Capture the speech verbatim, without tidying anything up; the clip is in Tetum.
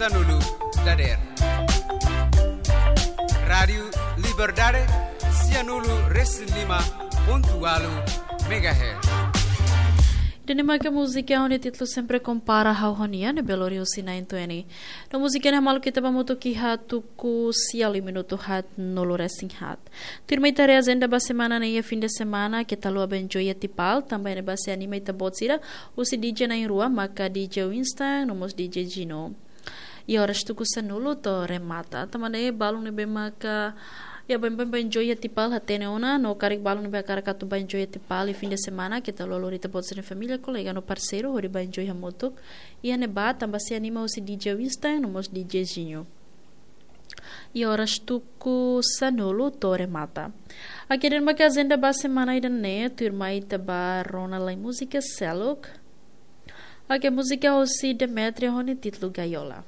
Sanulu dader. Rádiu Liberdade, sianulu resin lima pontu walu megahertz. Ida-ne'e maka múzika ho nia títulu Sempre Compara Ha'u ho Nia, ne'ebé lori husi nine twenty. No múzika ne'e hamaluk ita ba hamutuk iha tuku sia liu minutu haat nulu resin haat. Tuirmai ita haree ajenda ba semana ne'e iha fin de semana, keta haluha bá enjoy iha Tipal, tanba ne'e bá sei anima ita-boot sira, husi D J na'in-rua, maka D J Winston, no mós D J Gino. Iha oras tuku sanulu to'o remata. Tanba ne'e balun ne'ebé maka, iha baibain bá enjoy iha Tipal hatene ona, no karik balun ne'ebé hakarak atu bá enjoy iha Tipal iha fin de semana, keta haluha lori ita-boot sira-nia família, kolega no parseiru, hodi bá enjoy hamutuk iha ne'ebá, tanba sei anima husi D J Winston, no mós D J Gino. Iha oras tuku sanulu to'o remata. Oke, ida-ne'e maka ajenda ba semana ida-ne'e, tuirmai ita bá rona lai múzika seluk. Oke, múzika husi Demetrio ho nia títulu Gaiola.